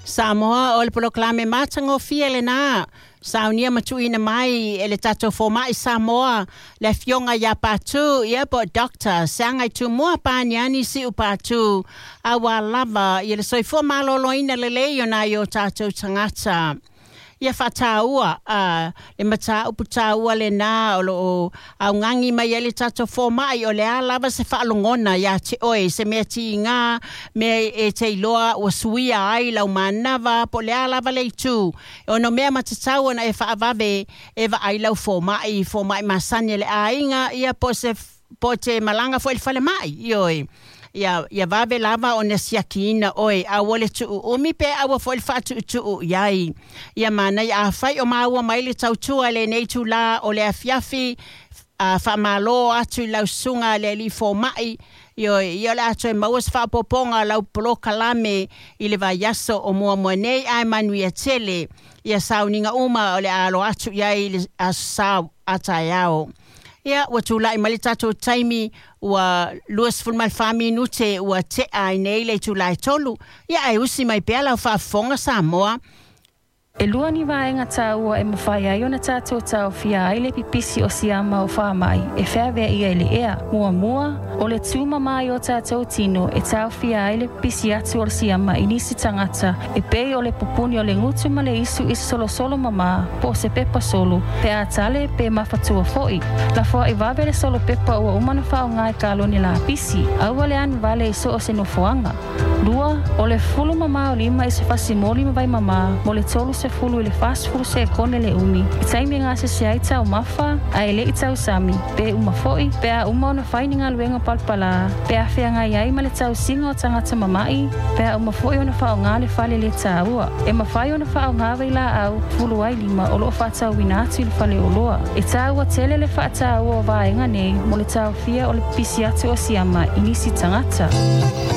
Samoa, o le polokalame matagofie lenā, saunia ma tuuina mai e le tatou Fomaʻi Samoa, le Afioga ia Patu, ia po o Doctor Seagaitumua Paniani Siu Patu, auā lava ia le soifua malōlōina lelei o nai o tatou tagata. Ia faataua a le mataupu taua lenā o loo augagi mai ai le tatou fomaʻi. O le a lava se faalogona iā te oe, se mea tigā, mea e te iloa ua suia ai lau manava, po o le a lava le itu e ono mea matatau ona e faavave e vaai lau fomaʻi, fomaʻi masani a le aiga, ia po se po te malaga foi i le falemai, ioe, ia ia vave lava ona siakiina oe. Aua le tuuumi pe aua foi le faatuutuu i ai. Ia manaia afai o maua mai le tautua i lenei itulā o le afiafi. A faamālō atu i lau susuga le alii fomaʻi, ioe, ia o le a toe maua se faaopoopoga o lau polokalame i le vaiaso o muamua nei, ae manuia tele ia sauniga uma o le a alo atu i ai i le aso Sa a taeao. Ia, ua tulai mai le tatou taimi ua 24 minute ua tea ai nei le itula e 3. Ia, ae usi mai pea lau faafofoga Samoa. E lua ni vaega taua e mafai ai ona tatou taofia ai le pipisi o siama o faamai e feaveaia i le ea. Muamua, o le tumama i o tatou tino e taofia ai le pipisi atu o le siama i nisi tagata e pei o le pupuni o le gutu ma le isu i se solosolo mama po o se pepa solo pe a tale pe mafatua foi. Lafoai vave le solo pepa ua uma ona faaaoga i kalone lapisi. Aua le anu vale i so o se nofoaga. Lua, o le fulu mamā o lima i se fasi moli ma vai mamā mo le 30 i le 40 sekone le umi i taimi e gasese ai taumafa ae le i tausami, pe uma foi pe a uma ona fai ni galuega palapalā, pe a feagai ai ma le tausiga o tagata mama'i, pe a uma foi ona faaaoga le fale le taua. E mafai ona faaaoga vailaau fulu ai lima o loo faatauina atu i le faleoloa. E taua tele le faataua o vaega nei mo le taofia o le pipisi atu o siama i nisi tagata.